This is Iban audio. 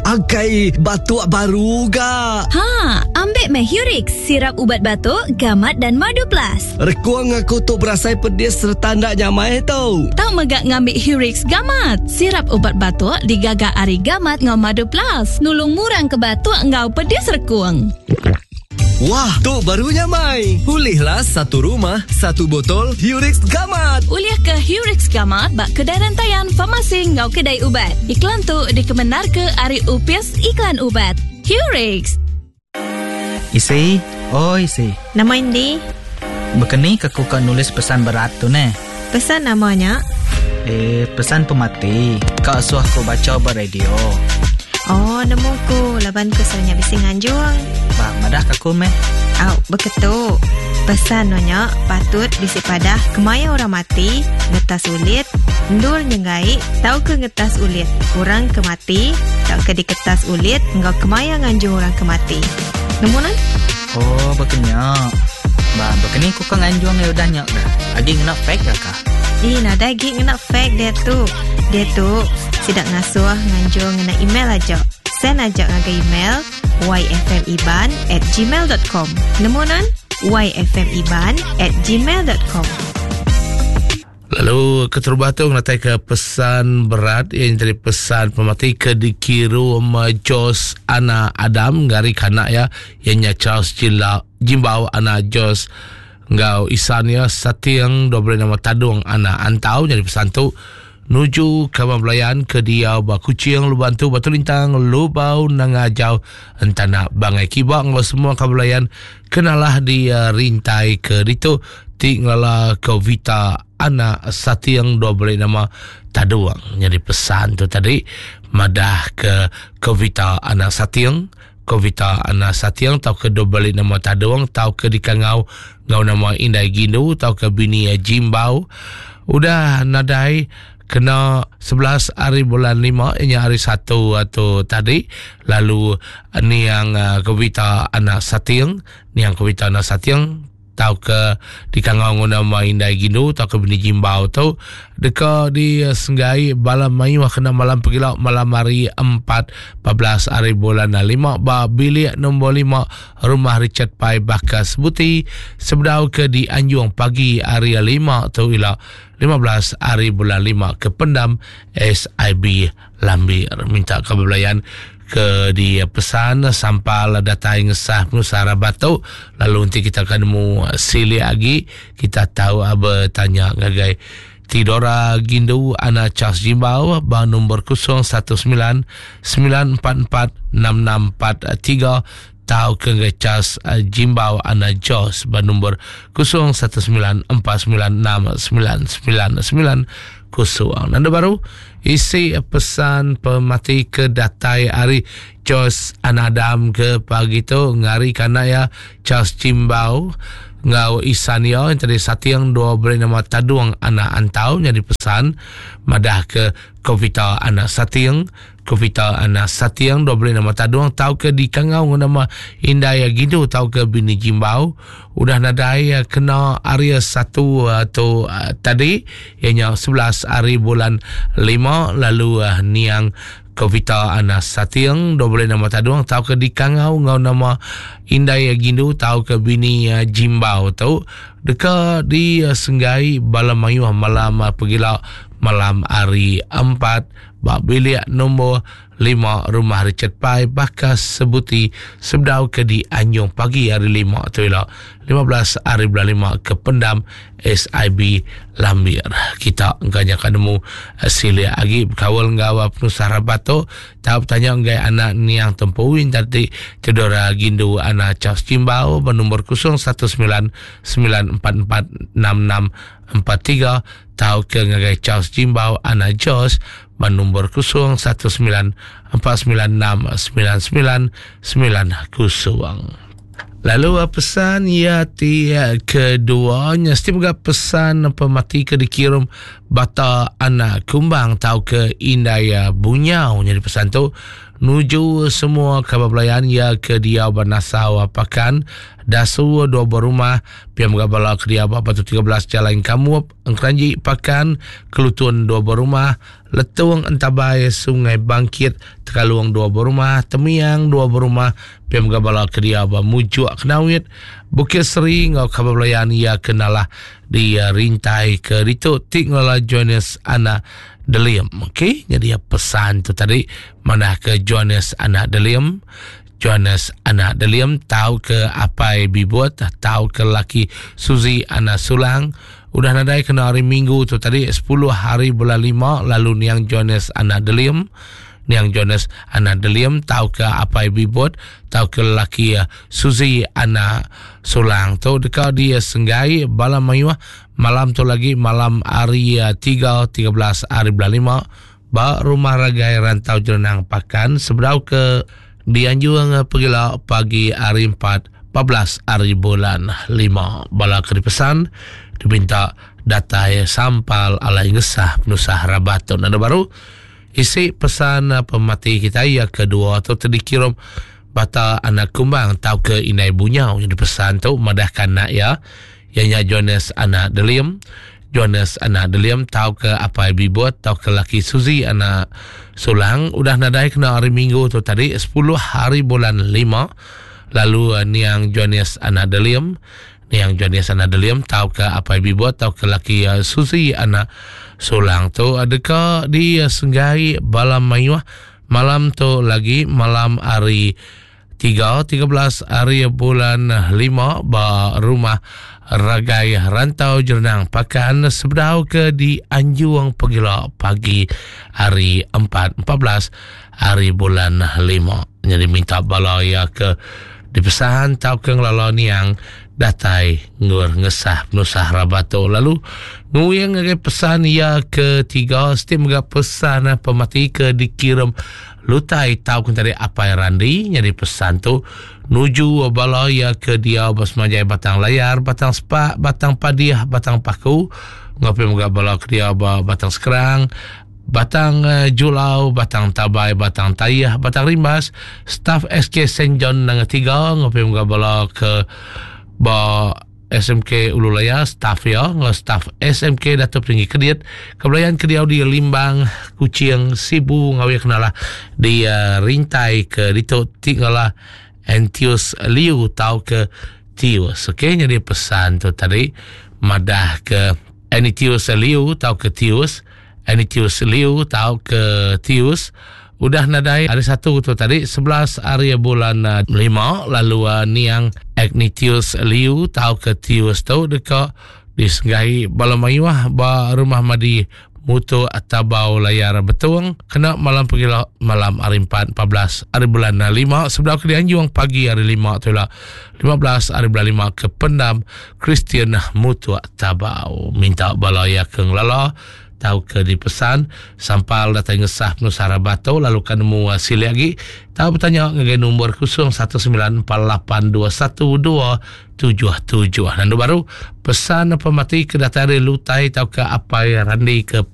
Akai batuk baru ga. Ha, ambik meh Hurix, sirap ubat batuk, gamat dan madu plus. Rekung aku tu berasai pedis sereta enda nyamai tu. Tau mega ngambi Hurix Gamat, sirap ubat batuk digaga ari gamat enggau madu plus, nulung ngurang ke batuk enggau pedis rekung. Wah, tu baru nyamai. Ulihlah satu rumah, satu botol Hurix Gamat. Ulih ke Hurix Gamat ba kedai rentayan, farmasi enggau kedai ubat. Iklan tu dikemendarka ari Upis Iklan Ubat. Hurix. Isi, oi isi. Nama indi? Bekeni ke ku ka nulis pesan berat tu neh? Pesan nama nya? Eh, pesan pemati. Ka suah ku bacha ba radio. Oh, nemu ku laban ku selalu nya bisi nganjung. Ba, madah ka ku meh. Au, beketu. Pesan no nya patut bisi padah kemaya orang mati, ngetas ulit, endur nyenggai tauka ngetas ulit orang ke mati tauka diketas ulit enggau kemaya nganjung orang ke mati. Nemu nan? Oh, baka nya. Ba, baka ni ku ka nganjung iya udah nya dah. Agi ngena fax ka kah? Ih, nadai agi ngena fax diatu. Diatu, sida ngasuh nganjung ngena email aja. Send aja ngagai email yfmiban at gmail dot com. Nemu nan? yfmiban at gmail dot com. Lalu keterubah tu ngenatai ke pesan berat iya nyadi pesan pemati ke dikirum Jos Ana Adam ngari kanak iya iya nya Charles Jila Jimbau Ana Jos enggau isan iya Sating 26 nama Tadung Ana Antau nyadi pesan tu nuju kaban belayan ke diau ba Kuching Luban tu Batu Lintang Lubau Nanga Ajau Entana Bangai Kiba enggau semua kaban belayan kenalah di rintai ke ditu ti ngelala ke Vita anak Sating dua beli nama Tadung. Nyadi pesan tu tadi madah ke ke Vita anak Sating, ke Vita anak Sating tau ke dua beli nama Tadung tau ke dikangau ngau nama Indai Gindu tau ke bini Jimbau udah nadai kena 11 hari bulan 5 inya hari 1 tu tadi lalu niang ke Vita anak Sating, niang ke Vita anak Sating tauka dikangau enggau nama Indai Gindu tauka Bini Jimbau tu deka disenggai bala mayuh kena malam pegila malam hari 4 14 hari bulan 5 ba bilik nombor 5 Rumah Richard Pai Baka Sebuti sebedau ke dianjung pagi hari 5 tu ila 15 hari bulan 5 ke pendam SIB Lambir. Minta ke belayan ke dipesan sampal datai ngesah penusah rabat tu lalu nanti kita akan nemu silik agi kita tahu bertanya ngagai Tidora Gindu Ana Charles Jimbau ba nombor 019 944 6643 tau ke ngagai Charles Jimbau Ana Jos ba nombor 019 496 999 0. Nanda baru isi pesan pemati ke datai ari Jos Anadam ke pagi tu ngari kana ya Charles Jimbau ngau isan ya yang tadi sating dua beri nama Tadung anak Antau jadi pesan madah ke Kovita anak Sating Kovita anak Sating dua beri nama Tadung tau ke dikangau ngau nama Indai Gidu tau ke bini Jimbau udah nadai kena hari 1 tu tadi ianya 11 hari bulan 5 lalu niang Kovita anak Sating dua beri nama Tadung tau ke dikangau ngau nama Indai Gindu tau ke bini Jimbau tu deka disenggai bala mayuh malam pegila malam hari 4 ba bilik nombor 5 Rumah Richard Pai baka sebuti sebedau ke di Anjung pagi hari 5 tu ila 15 hari bulan 5 ke pendam SIB Lambir. Kita engka nya ka nemu silik agi bekaul enggau penusah rabat tu tau betanya enggai anak niang tempu tadi Theodora Gindu anak Charles Jimbau ba nombor 019 944 6643 tauka ngagai Charles Jimbau anak Jos ba nombor 019 496 9990. Lalu pesan ia ti kedua nya mesti mega pesan pemati ke dikirum bata anak kumbang tauka indai bunyau nyadi pesan tu nuju semua kaban belayan ia ke diau ba Nasau Pakan Dasu dua buah rumah pia mega bala ke diau ba Batu 13 Jalai Engkamup Engkeranji Pakan Kelutun dua buah rumah. Letong Entabai, Sungai Bangkit, Tekalong dua berumah, Temiang dua berumah, pia mega bala ke diau ba Mujuk Kenawit, Bukit Seri enggau kaban belayan iya ke nalah di rintai ke ditu ti ngelala Johannes anak Delim. Okey, nyadi pesan tu tadi manah ke Johannes anak Delim. Johannes anak Delim tau ke apai Bibut tau ke laki Suzy anak Sulang udah nadai kena hari Minggu tu tadi 10 hari bulan 5 lalu niang Johannes anak Delim niang Johannes anak Delim tau ke apai Bibut tau ke laki Suzy anak Sulang tu deka dia senggai bala mayuh malam tu lagi malam hari 3 13 hari bulan 5 Ba Rumah Ragai Rantau Jerenang Pakan sebedau ke dianjung pegila pagi hari 4 14 hari bulan 5. Bala ke dipesan dipinta datai sampal alai ngesah penusah rabat tu. Nanda baru isi pesan pemati kita ia kedua tu terdikirum bata anak kumbang tau ke inai bunyau yang dipesan tu madahkan nak ya Iya nya Johannes anak Delim. Johannes anak Delim tauka apai Bibut tauka laki Suzy anak Sulang udah nadai kena hari Minggu tu tadi 10 hari bulan 5 lalu eh, niang Johannes anak Delim niang Johannes anak Delim tauka apai Bibut tauka laki eh, Suzy anak Sulang tu eh, deka disenggai bala mayuh malam tu lagi malam hari 3, 13 hari bulan 5 ba rumah Ragai Rantau Jerenang Pakan sebedau ke di Anjung Pegila pagi hari 4, 14 hari bulan 5. Jadi minta bala ia ke dipesan tau ke ngelala niang datai ngur ngesah penusah rabat tu. Lalu nguyang ngagai pesan ia ketiga setiap mega pesan pemati ke dikirim Lutai tau ke tadi Apai Randi nyadi pesan tu nuju bala iya ke diau ba semanjai Batang Layar, Batang Sepak, Batang Padih, Batang Paku enggau pia mega bala ke diau ba Batang Skrang, Batang Julau, Batang Tabai, Batang Tayah, Batang Rimbas, staf SK Saint John Nanga Tiga enggau pia mega bala ke ba SMK Ulu Layar, staf iya enggau staf SMK Datuk Petinggi Kedit ke belayan ke diau di Limbang, Kuching, Sibu enggau iya kenalah di uh, rintai ke ditu ti ngalah Antius Liu tau ke Tius. Okey, jadi pesan tu tadi madah ke Antius Liu tau ke Tius, Anitius Liu tau ke Tius udah nadai hari satu tu tadi 11 hari bulan 5 eh, lalu uh, niang Agnitius Liu tau ke Tius tu deka disenggai bala mayuh ba rumah madi Mutu Tabau Layar Betung kena malam pegila malam hari 4 14 hari bulan 5 sebedau ke dianjung pagi hari 5 tu lah 15 hari bulan 5 ke pendam Kristian Mutu Tabau minta bala iya ke ngelala tauka dipesan sampal datai ngesah penusah rabat tu lalu ka nemu silik agi tau betanya ngagai nombor 0194821277 nandu baru pesan pemati ke datai ari Lutai tauka Apai Randi ke.